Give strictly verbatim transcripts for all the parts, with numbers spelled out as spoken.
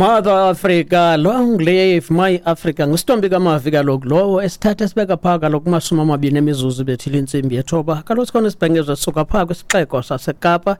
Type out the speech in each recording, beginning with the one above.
Mother Africa, long live my Africa. Ngustombi kaMavi kaloku lowo esithatha esibeka phaa kaloku kumashumi amabini emizuzu bethile intsimbi yethoba. Kaloku sikhona isibhengezo sisuka phaa kwisixeko saseKapa,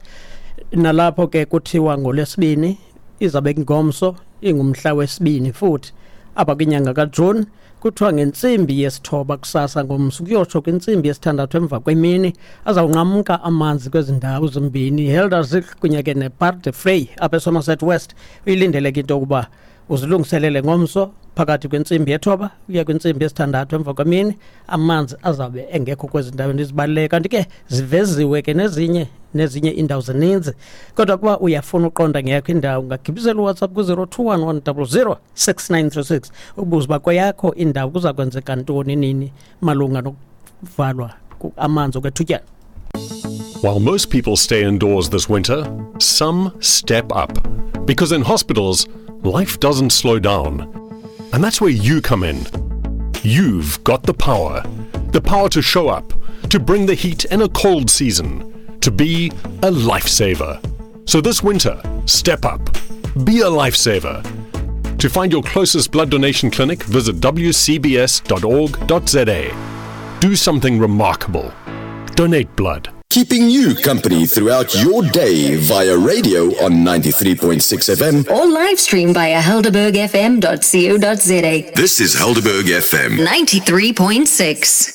nalapho ke kuthiwa ngolwesibini izabe ngomso ingumhla wesibini futhi apha kwinyanga kaJuni, kuthiwa ngentsimbi yesithoba kusasa ngomso kuyotsho kwintsimbi yesithandathu emva kwemini azawunqamka amanzi kwezi ndawo zimbini, Helderzicht kunye ke nePaardevlei apha eSomerset West. Uyilindeleke into yokuba uzilungiselele ngomso phakathi kwentsimbi yethoba ukuya kwintsimbi yesithandathu emva kwemini, amanzi azawube engekho kwezi ndawo ndizibaluleke. Kanti ke ziveziwe ke nezinye nezinye iindawo zininzi, kodwa kuba uyafuna uqonda ngeyakho indawo ungagibisela uWhatsApp ku-zero two one one double zero six nine three six ubuze uba kweyakho indawo kuza kwenzeka ntoni nini malunga nokuvalwa amanzi okwethutyana. While most people stay indoors this winter, some step up. Because in hospitals, life doesn't slow down. And that's where you come in. You've got the power. The power to show up, to bring the heat in a cold season, to be a lifesaver. So this winter, step up. Be a lifesaver. To find your closest blood donation clinic, visit w c b s dot org dot z a. Do something remarkable. Donate blood. Keeping you company throughout your day via radio on ninety-three point six F M or live stream via helderberg f m dot co dot z a. This is Helderberg F M ninety-three point six.